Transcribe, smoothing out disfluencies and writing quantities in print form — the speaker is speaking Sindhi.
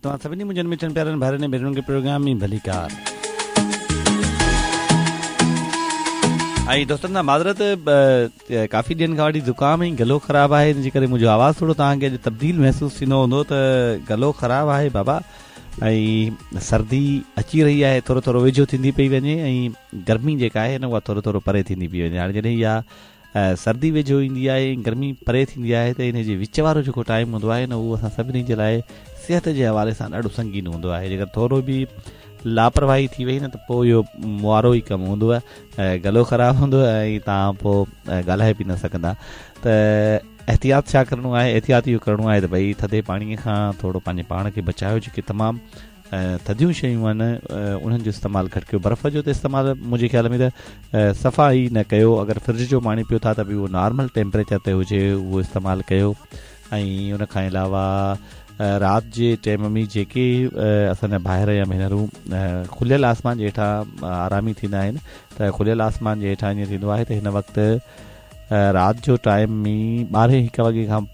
توهان سڀني منهنجن مٺن پيارن ڀائرن ۽ ڀينرن کي پروگرام ۾ ڀليڪار. ۽ دوستن کان معذرت ڪافي ڏينهن کان وٺي زڪام ۽ گلو خراب آهي ان جي ڪري منهنجو آواز ٿورو توهان کي اڄ تبديل محسوس ٿيندو هوندو ته گلو خراب آهي بابا ۽ سردي اچي رهي آهي ٿورو ٿورو ويجهو ٿيندي پئي وڃي ۽ گرمي جيڪا آهي نه اها ٿورو ٿورو پري ٿيندي پئي وڃي هاڻي جڏهن اها سردي ويجهو ايندي آهي ۽ گرمي پري ٿيندي آهي ته ان جي وچ وارو جيڪو ٽائيم هوندو آهي نه اهو اسان سڀني جي لاء صحت جي حوالي سان ڏاڍو سنگين هوندو آهي جيڪر ٿورو به لاپرواهي ٿي وئي نه ته پوء اهو وارو ئي ڪم هوندو آهي گلو خراب هوندو ۽ توهان پوء ڳالهائي به نه سگهندا ته احتياط ڇا ڪرڻو آهي؟ احتياط اهو ڪرڻو آهي ته ڀئي ٿڌي پاڻي کان ٿورو پنهنجي پاڻ کي بچايو جيڪي تمام ٿڌيون شيون آهن انهن جو استعمال گهٽ ڪيو برف جو ته استعمال منهنجي خيال ۾ ته صفا ئي نه ڪيو اگر فرج جو پاڻي پيو ٿا ته به اهو نارمل ٽيمپريچر تي هجي اهو استعمال ڪيو ۽ ان کان علاوه رات جي ٽيم ۾ جيڪي اسان جا ڀائر يا ڀينرون کليل آسمان جي هيٺان آرامي ٿيندا آهن ته کليل آسمان جي هيٺان ائين ٿيندو آهي ته هن وقت رات جو ٽائيم ۾ ٻارهين هڪ وڳي کان پوء.